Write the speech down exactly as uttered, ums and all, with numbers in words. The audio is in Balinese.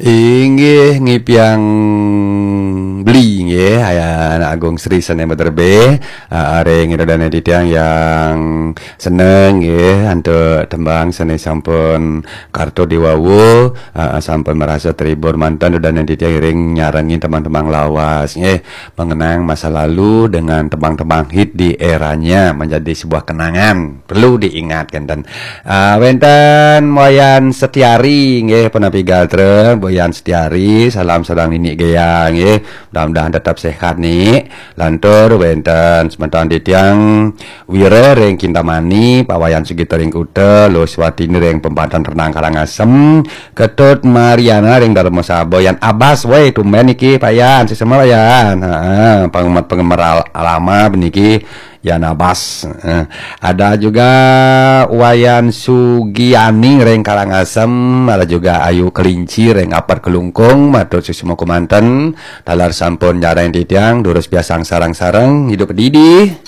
Inggih ngipiang beli nggih, Anak Agung Sri sané maderbé, ah, ring ida dané titiang yang seneng nggih, antuk tembang sané sampun karta diwawu, ah, sampun marasa terhibur manten ida dané titiang ring nyarengin tembang-tembang lawas nggih, mengenang masa lalu dengan tembang-tembang hit di eranya menjadi sebuah kenangan. Perlu diingat kénten. Ah, wénten Wayan Setiari nggih, punapi gatra, Wayan Setiari, salam sareng Nini Gea nggih. Mudah-mudahan tetap sehat, Nik. Lantur wénten semeton titiang Wira ring Kintamani, Pak Wayan Sugito ring Kuta, Luh Swatini ring Pembantan Renang Karangasem, Ketut Mariana ring Darmasaba, Yan Abas, woi, tumben niki, Pak Yan, sesama Pak Yan. Heeh, penggemar-penggemar al-, lama niki, Yan Abas. Eh, ada juga Wayan Sugiani ring Karangasem, ada juga Ayu Kelinci ring Apat Kelungkung, matur suksma kumanten, taler sampun nyarengin titiang, durus piarsang sareng-sareng, hidup didi.